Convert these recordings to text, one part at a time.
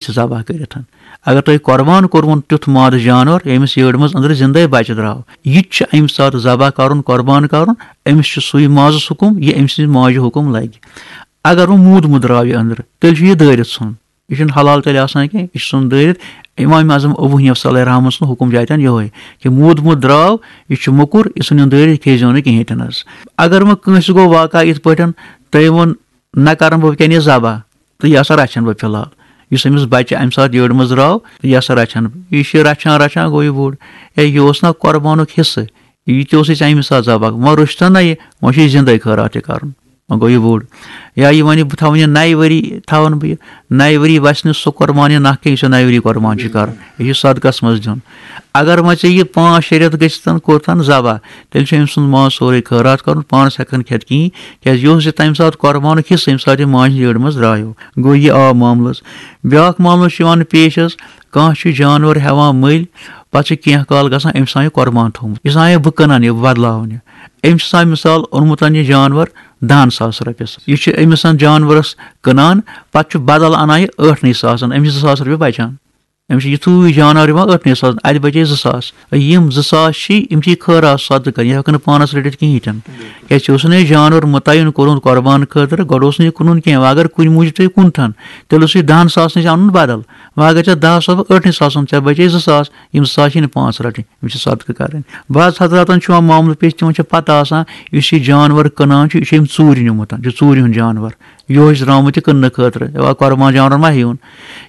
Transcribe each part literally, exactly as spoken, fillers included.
چھِ ذبح کٔرِتھ۔ اگر تۄہہِ قۄربان کوٚروُن تیُتھ ماز جانور، ییٚمِس یٔڈ منٛز أنٛدرٕ زِندَے بَچہِ درٛاو، یہِ تہِ چھُ اَمہِ ساتہٕ ذبح کَرُن، قۄربان کَرُن، أمِس چھُ سُے مازَس حُکُم، یہِ أمۍ سٕنٛزِ ماجہِ حُکُم لَگہِ۔ اگر وۄنۍ موٗدمُت درٛاو یہِ أنٛدرٕ، تیٚلہِ چھُ یہِ دٲرِتھ ژھُن۔ یہِ چھُنہٕ حلال تیٚلہِ آسان کینٛہہ، یہِ چھُ ژھُن دٲرِتھ۔ اِمام اعظم ابو حنیفہ صلی اللہ علیہ رحمہ سُنٛد حُکُم چھُ اَتٮ۪ن یِہوٚے کہِ موٗدمُت درٛاو، یہِ چھُ موٚکُر، یہِ ژھُنِن دٲرِتھ، کھیٚیہِ زیو نہٕ کِہیٖنۍ تہِ نہٕ حظ۔ اگر وۄنۍ کٲنٛسہِ گوٚو واقعہ یِتھ پٲٹھۍ، تٔمۍ ووٚن، نہ کَرَن بہٕ وٕنکیٚن یہِ ذبح، تہٕ یہِ ہسا رَچھَن بہٕ فی الحال۔ یُس أمِس بَچہِ اَمہِ ساتہٕ یٔڈ منٛز درٛاو، تہٕ یہِ ہسا رَچھَن بہٕ۔ یہِ چھُ رَچھان رَچھان گوٚو یہِ بوٚڑ۔ ہے، یہِ اوس نہ قۄربانُک حصہٕ، یہِ تہِ اوس أسۍ اَمہِ ساتہٕ ذبح۔ وۄنۍ روٚچھتَن نہ یہِ، وۄنۍ چھُ یہِ زِندَے خٲراتھٕے کَرُن۔ وۄنۍ گوٚو یہِ بوٚڑ۔ یا یہِ وَنہِ، بہٕ تھاوَن یہِ نَیہِ ؤری، تھاوَن بہٕ یہِ نَیہِ ؤری، وَسہِ نہٕ سُہ قۄربان یہِ نَکھ کینٛہہ، یُس یہِ نَیہِ ؤری قۄربان چھُ کَرُن۔ یہِ چھُ صدقَس منٛز دیُن۔ اگر وۄنۍ ژےٚ یہِ پانٛژھ شےٚ رٮ۪تھ گٔژھِتھ کوٚرتھَن ذبح، تیٚلہِ چھُ أمۍ سُنٛد ماز سورُے خٲراتھ کَرُن، پانَس ہٮ۪کَن کھٮ۪تھ کِہیٖنۍ، کیٛازِ یہِ اوس یہِ تَمہِ ساتہٕ قۄربانُک حصہٕ، ییٚمہِ ساتہٕ یہِ ماجہِ ہِنٛدِ یٔڈ منٛز درٛایو۔ گوٚو یہِ آو معاملَس۔ بیٛاکھ معاملہٕ چھُ یِوان پیش حظ، کانٛہہ چھُ جانوَر ہٮ۪وان مٔلۍ، پَتہٕ چھُ کینٛہہ کال گژھان، أمۍ چھُ آسان یہِ قۄربان تھوٚومُت، یہِ چھُ آسان یہِ بہٕ کٕنَن یہِ بدلاوُن یہِ۔ أمۍ چھُ آسان مِثال اوٚنمُت یہِ جانوَر دَہَن ساس رۄپیَس، یہِ چھُ أمِس جانوَرَس کٕنان، پَتہٕ چھُ بدل اَنان یہِ ٲٹھنٕے ساسَن، أمِس چھِ زٕ ساس رۄپیہِ بَچان۔ أمِس چھِ یِتھُے جانور یِوان ٲٹھنٕے ساس، اَتہِ بَچے زٕ ساس۔ یِم زٕ ساس چھِ، یِم چھِ خٲراتھ صدقہٕ، یہِ ہٮ۪کَن نہٕ پانَس رٔٹِتھ کِہیٖنۍ تہِ نہٕ۔ کیٛازِ ژےٚ اوس نہٕ یہِ جانور مُتعین کوٚرمُت قۄربان خٲطرٕ، گۄڈٕ اوس نہٕ یہِ کٕنُن کینٛہہ۔ وۄنۍ اگر کُنہِ موٗجوٗب ژےٚ یہِ کُنتھَن، تیٚلہِ اوس یہِ دَہَن ساسَن نِش اَنُن بدل۔ وۄنۍ اگر ژےٚ دَہ ساس، ٲٹھنٕے ساسَن، ژےٚ بَچے زٕ ساس، یِم زٕ ساس چھِ نہٕ پانَس رَٹٕنۍ، یِم چھِ صدقہٕ کَرٕنۍ۔ بعض حضراتَن چھُ یِوان معاملہٕ پیش، تِمَن چھِ پَتہ آسان، یُس یہِ جانور کٕنان چھُ، یہِ چھُ أمۍ ژوٗرِ نیوٗمُت، یہِ چھُ ژوٗرِ ہُنٛد جانور۔ یِہوٚے چھُ درٛامُت یہِ کٕننہٕ خٲطرٕ، یہِ کۄربان جانور ما ہیٚیُن؟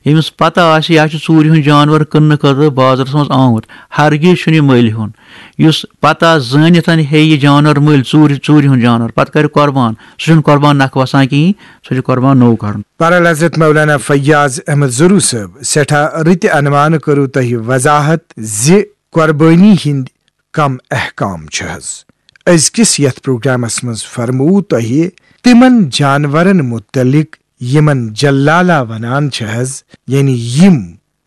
ییٚمِس پتہ آسہِ یہِ ہا چھُ ژوٗرِ ہُنٛد جانور کٕننہٕ خٲطرٕ بازرس منٛز آمُت، ہرگز چھُنہٕ یہِ مٔلۍ ہیوٚن۔ یُس پتہ زٲنِتھ ہیٚیہِ یہِ جانور مٔلۍ، ژوٗرِ، ژوٗرِ ہُنٛد جانور، پتہٕ کرِ قۄربان، سُہ چھُنہٕ قۄربان نکھٕ وسان کِہیٖنۍ، سُہ چھُ قۄربان نوٚو کرُن۔ برحال حضرت مولانا فیاض احمد ضروٗ صٲب، سٮ۪ٹھاہ رٕتہِ عنوانہٕ کٔرٕو تۄہہِ وضاحت زِ قۄربٲنی ہٕنٛدۍ کم احکام چھِ حظ۔ أزکِس یتھ پروگرامس منٛز فرموو تۄہہِ تِمن جانورن متعلق یِمن جلالہ ونان چھِ حظ، یعنی یِم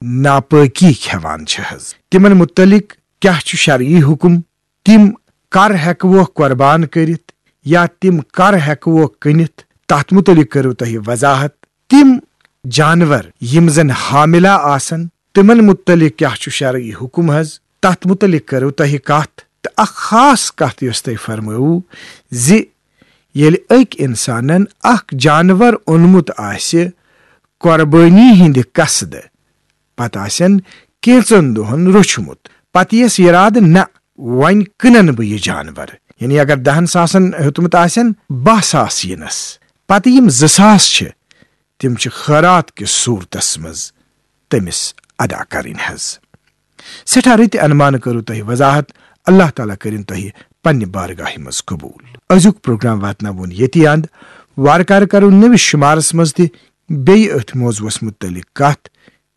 ناپٲکی کھٮ۪وان چھِ حظ۔ تِمن متعلق کیاہ چھُ شرعی حکم؟ تِم کر ہٮ۪کوکھ قۄربان کٔرِتھ یا تِم کر ہٮ۪کوکھ کٕنِتھ؟ تتھ متعلق کٔرٕو تۄہہِ وضاحت۔ تِم جانور یِم زن حاملہ آسن، تِمن متعلق کیاہ چھُ شرعی حکم حظ؟ تتھ متعلق کرو تۄہہِ کتھ۔ تہٕ اکھ خاص کتھ یۄس تۄہہِ فرمٲوٕ زِ ییٚلہِ أکۍ انسانن اکھ جانور اوٚنمُت آسہِ قۄربٲنی ہٕنٛدِ قصدٕ، پتہٕ آسن کینژن دۄہن روچھمُت، پتہٕ یِیَس یرادٕ، نہ، وۄنۍ کٕنن بہٕ یہِ جانور، یعنی اگر دہن ساسن ہیوٚتمُت آسن، باہ ساس یِنس، پتہٕ یِم زٕ ساس چھِ، تِم چھِ خٲرات کِس صوٗرتس منٛز تٔمِس ادا کرٕنۍ حظ۔ سٮ۪ٹھاہ رٕتہِ انمانہٕ کٔرٕو تۄہہِ وضاحت، اللہ تعالیٰ کٔرِن تۄہہِ پننہِ بارگاہہِ منٛز قبوٗل۔ أزیُک پروگرام واتناوون ییٚتی اند۔ وارٕ کارٕ کرو نٔوِس شُمارس منٛز تہِ بیٚیہِ أتھۍ موضوعس مُتعلق کتھ۔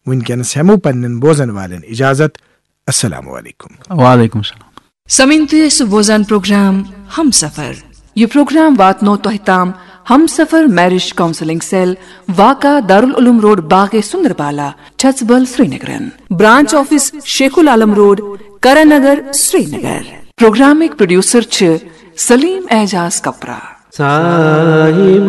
وٕنکیٚنس ہٮ۪مو پننٮ۪ن بوزن والٮ۪ن اجازت۔ السلام علیکم۔ وعلیکم السلام۔ سمعین، تُہۍ ٲسِو بوزان پروگرام ہم سفر۔ یہِ پروگرام واتنو تۄہہِ تام ہم سفر میرج کاؤنسلنگ سیل، واقع دارالعلوم روڈ، باغ سندربالا، چھژبل، سرینگرن۔ برانچ آفس شیخ العالم روڈ، کرن نگر، سرینگر۔ پروگرامٕکۍ پروڈیوسر چھِ سلیم اعجاز کپرا۔ صاحبو۔